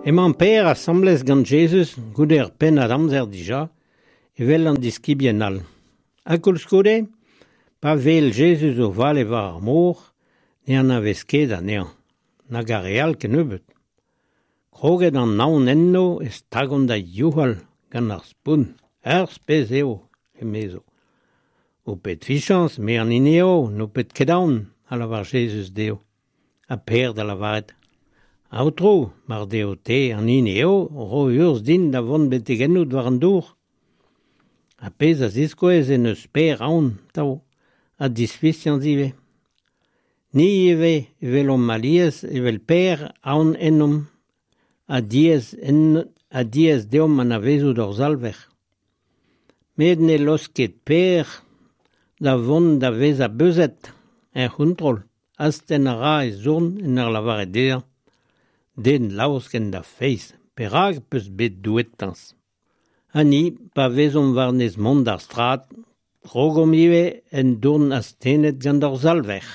Emañ Pêr asambles gant Jezuz goude ur pennad amzer dija, evel an diskibien all. Ha koulskoude, pa wel Jezuz o vale war ar mor, ne anavez ket anezhañ, nag ar re all kennebeut. Kroget an aon enno e stagont da youc'hal gant ar spont. Ur spes eo, emezo. Ho pet fichañs, me an hini eo, n'ho pet ket aon, a lavar Jezuz dezho. Ha Pêr da lavaret, Aotrou, mar deo te an hini eo, ro urzh din da vont betek ennout war an dour. Ar pezh a ziskouez en deus Pêr aon, atav, ha disfiziañs ivez. Ni ivez e welomp alies evel Pêr aon ennomp, ha diaes en ha diaes deomp anavezout hor Salver. Met ne laosk ket Pêr da vont da vezañ beuzet, er c'hontrol, astenn a ra e zorn en ur lavaret dezhañ Den laosk en da feiz, perak 'peus bet douetañs? Ha ni, pa vezomp war-nes mont d'ar strad, krogomp ivez en dourn astennet gant hor Salver.